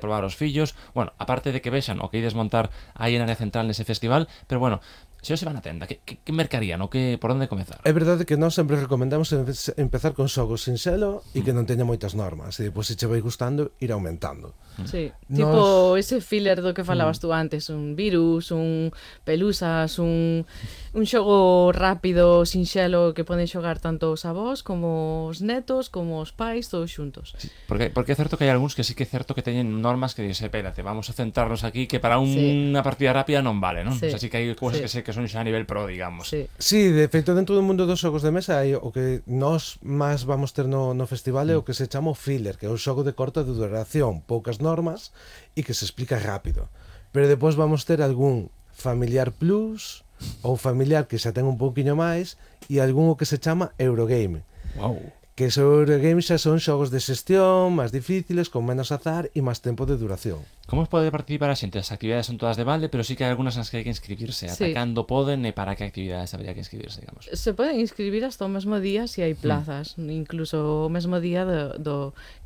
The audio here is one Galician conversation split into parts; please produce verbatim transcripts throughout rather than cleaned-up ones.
probar os fillos, bueno, aparte de que vexan o que ides montar aí en área central nese festival, pero bueno, se os se van a tenda, que, que, que mercarían o que, por onde comezar? É verdade que nós sempre recomendamos empezar con xogos sinxelo e que non teña moitas normas, e depois se che vai gustando ir aumentando. Sí, Nos... tipo ese filler do que falabas tú antes, un virus, un pelusas, un, un xogo rápido, sinxelo, que poden xogar tanto os avós como os netos, como os pais, todos xuntos. Sí, porque, porque é certo que hai algúns que sí que é certo que teñen normas que dicen, espérate, vamos a centrarnos aquí que para unha Sí. partida rápida non vale, non? Sí. O sea, sí que hai cousas Sí. que sé que son xa a nivel pro, digamos. Sí. Sí, de feito, dentro do mundo dos xogos de mesa hai o que nós máis vamos ter no, no festival é o que se chama o filler, que é un xogo de corta duración, poucas normas e que se explica rápido. Pero depois vamos ter algún familiar plus ou familiar que xa ten un pouquiño máis e algún o que se chama Eurogame. Wow. Que os Eurogames xa son xogos de xestión máis difíciles, con menos azar e máis tempo de duración. Como pode participar a xente? As actividades son todas de balde, pero sí que hai algunhas nas que hai que inscribirse. Ata Sí. cando poden e para que actividades habría que inscribirse, digamos. Se poden inscribir hasta o mesmo día se hai plazas, mm. incluso o mesmo día do, do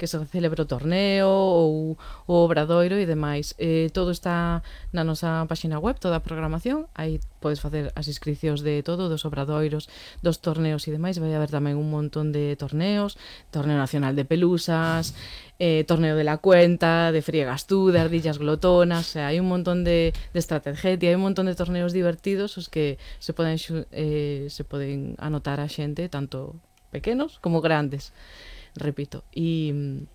que se celebra o torneo ou o obradoiro e demais. Eh, todo está na nosa página web, toda a programación, aí podes facer as inscripcións de todo, dos obradoiros, dos torneos e demais. Vai haber tamén un montón de torneos, torneo nacional de pelusas, eh, torneo de la cuenta, de friegas tú, de ardillas glotonas, o sea, hai un montón de, de estrategia, hai un montón de torneos divertidos os que se poden eh, se poden anotar a xente, tanto pequenos como grandes, repito, e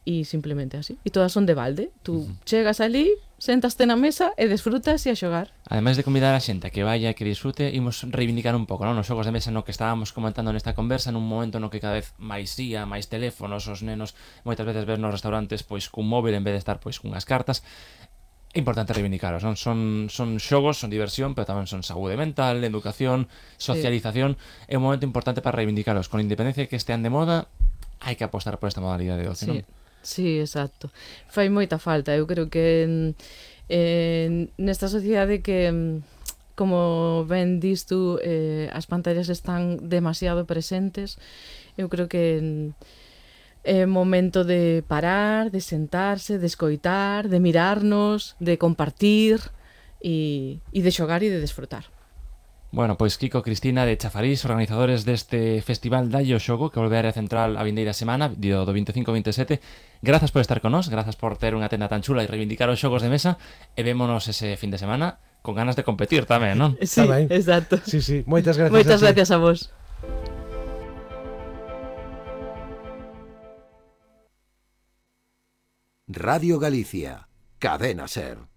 e simplemente así, e todas son de balde. Tú uh-huh. chegas ali, sentaste na mesa e desfrutas e a xogar. Ademais de convidar a xente a que vaya e que disfrute, imos reivindicar un pouco, non? Os xogos de mesa no que estábamos comentando nesta conversa, nun momento no que cada vez máis ía, máis teléfonos, os nenos moitas veces ves nos restaurantes pois cun móvil en vez de estar pois cunhas cartas. É importante reivindicaros, non? Son, son xogos, son diversión, pero tamén son saúde mental, educación, socialización. Sí. É un momento importante para reivindicaros. Con independencia de que estean de moda, hai que apostar por esta modalidade de ocio, Sí. non? Sí, exacto. Fai moita falta. Eu creo que eh, nesta sociedade que, como ben dis tú, eh, as pantallas están demasiado presentes, eu creo que é momento de parar, de sentarse, de escoitar, de mirarnos, de compartir e, e de xogar e de desfrutar. Bueno, pois Kiko, Cristina de Chafarís, organizadores deste festival Dalle o Xogo, que volve a área central a vindeira semana, do vinte e cinco ao vinte e sete. Grazas por estar con nós, grazas por ter unha tenda tan chula e reivindicar os xogos de mesa, e vémonos ese fin de semana con ganas de competir tamén, non? Sí, exacto. Sí, sí, moitas gracias. Moitas a gracias a vos. Radio Galicia, Cadena Ser.